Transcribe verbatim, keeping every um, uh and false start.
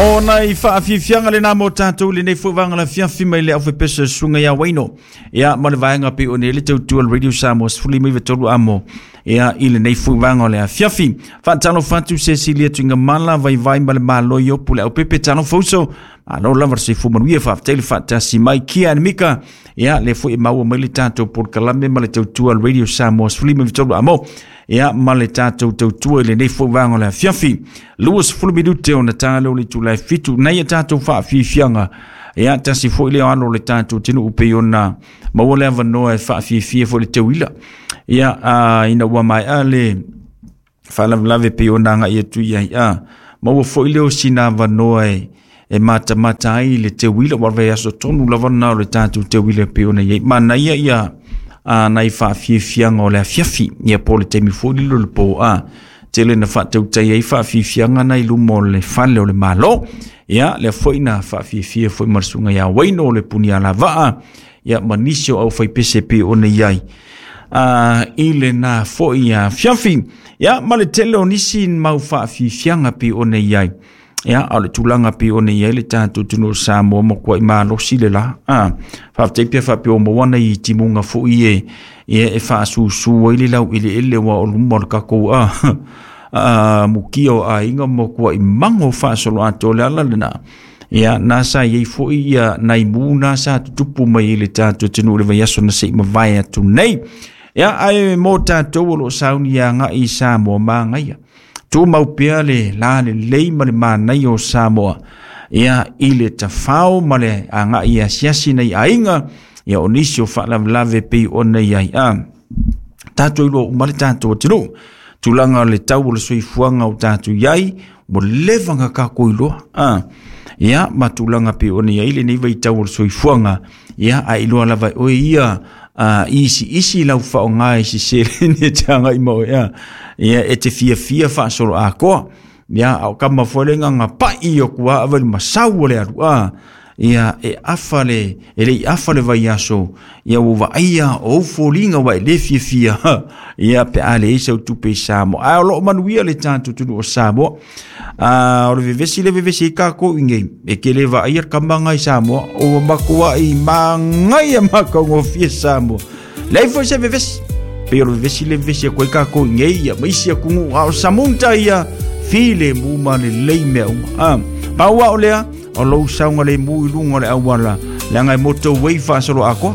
O nai faafiafiaga lenā mo tatou lenei foi vaga le afiafi mai le aufaipeso susuga ia Waino. Ia ma le vaega pei ona i ai le tautua le Radio Samoa sefulu lima iva tolu amo. Ia i lenei foi vaga o le afiafi. Faatalofa atu Cecilia Tuigamala vaivai ma le malo i opu le aupepe talofa uso. Malo lava le soifua manuia faafetai le faatasi mai kia and Mika. Ia le foi e maua mai le tatou polokalame ma le tautua le Radio Samoa sefulu lima iva tolu amo. Ia ma le tatou tautua i lenei foi vaega o le afiafi. Luasefulu minute ona ta lea o le itula e fitu nei a tatou faafiafiaga. Ia tasi foi lea o alo o le tatou atunuu pei ona maua le avanoa e faafiafia foi le teuila. Ia a, ina ua maea le faalavelave pei ona agai atu i ai a maua foi lea o sina avanoa e e matamata ai le teuila ua vaiaso tonu lava lena o le tatou teuila pei ona i ai. Manaia ia a nai faafiafiaga o le afiafi ia po o le taimi foi lilo le po a tele na faatautai ai faafiafiaga na i luma o le fale o le Malo. Ia lea foi na faafiafia foi ma le susuga ia Waino o le Punialavaa ia ma nisi o aufaipese pei ona i ai a i lenā foi afiafi. Ia ma le tele o nisi mau faafiafiaga pei ona i ai. Ia a o le tulaga pei ona i ai le tatou atunuu o Samoa matuai malosi le la. A faafetai pea faapea ua maua nai timuga foi e e e faasusu ai le laueleele aua o luma o le tatou a a mukia o aiga matuai mago faasoloatoa. O le ala lenā ia na sa i ai foi ia nai mu na sa tutupu mai i le tatou atunuu i le vaiaso na se i mavae atu nei. Ia ae mo tatou o lo o sauni agai i Samoa magaia. Tumau pea le la lelei ma le manaia o Samoa. Ia i le tafao ma le agai asiasi nai aiga ia o nisi o faalavelave pei ona i ai. A tatou iloa uma le tatou atunuu. Tulaga o le tau o le soifuaga o tatou i ai, ua leva ona tatou iloa. A ia ma tulaga pei ona i ai lenei vaitau o le soifuaga, ia ae iloa lava e oe ia a isiisi lau faaaoga i se seleni e te agai ma oe a. Ia e te fiafia faasoloatoa. Ia a o kama foi le gaga pai o kua ava i le masau o le alu a. Ia e afa le e le i afa le vaiaso ia ua vaaia o ou foliga ua e le fiafia ia pe a leai sau tupe i Samoa. Ae o lo o manuia le tatou atunuu o Samoa. A o le vevesi le vevesi ai tatou i nei e te le vaaia le kamaga i Samoa ua matuai magaia mataugofie Samoa. Leai foi se vevesi. Pei o le vevesi le vevesi atu ai tatou i nei ia ma isi atunuu a o Samunta ia filemu ma lelei mea uma. A pau lava o lea o lou saogalemu i luga o le auala leaga e motorway faasoloatoa.